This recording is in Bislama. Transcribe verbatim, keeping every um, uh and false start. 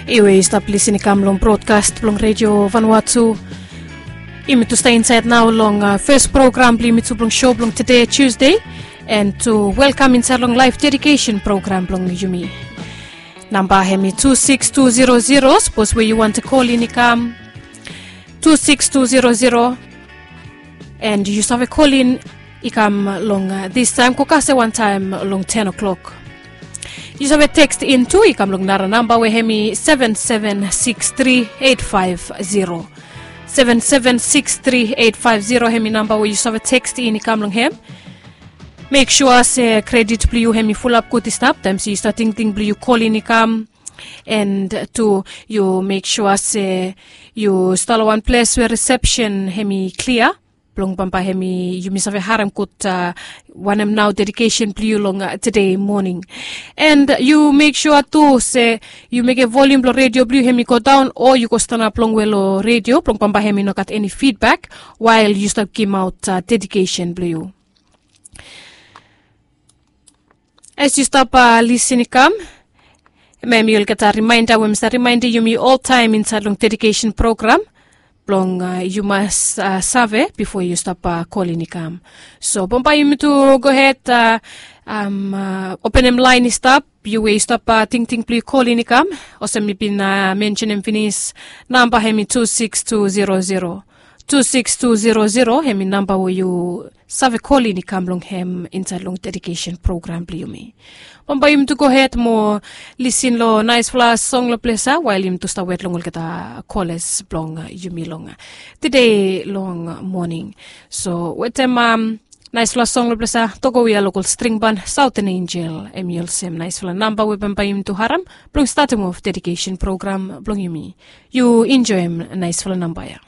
Yu we yu stap lisin i kam long brodkas blong redio Vanuatu. Yumi tu stap insaed nao long fes program blong yumi tu blong show blong tede Tuesday, and tu welkam insaed long laef dedikesen program blong yumi. Namba hem i tu sikis tu zero zero sapos we yu wantem kolin i kam, tu sikis tu zero zero. And yu save kolin i kam long distaem go kasem wantaem long ten o'clock. Yu save tekst in tu i kam long nara namba we hem i seven seven six three eight five zero. Seven seven six three eight five zero hem i namba we yu save tekst in i kam long hem. Mek sua se kredit blong yu hem i fulap gud i stap taem se yu stap tingting blong yu kolin i kam. And tu yu mek sua se yu stap long wan ples we risepsen hem i klia blong bambae hem i yumi save harem gud wanem nao dedikesen blong yu long tede moning. And yu mek sua tu se yu mekem volium blong redio blong yu hem i godaon o yu go stanap longwe long redio blong bambae hem i no gat eni fidbak wael yu stap gimaot dedikesen blong yu. As yu stap lisin i kam, hem hem yu olgeta rimaenda we mi stap rimaendem yumi oltaem insaed long dedikesen program blong yu mas save bifo yu stap kolin i kam. So bambae yumi tu gohed openem laen i stap, yu we yu stap tingting blong yu kolin i kam. Olsem mi bin mensenem finis, namba hem i tu sikis tu zero zero. Tu sikis tu zero zero hem i namba we yu save kolin i kam long hem insaed long dedikesen program blong yumi. Bambae yumi tu gohed mo lisin long naesfala song long ples ya wael yumi tu stap wet long olgeta kolas blong yumi long tede long moning. So wetem naesfala song long ples ya, togo we ya lokol stringban Saoten Enjel, hem i olsem naesfala namba we bambae yumi tu harem blong statem of dedikesen program blong yumi. Yu enjoem naesfala namba ya.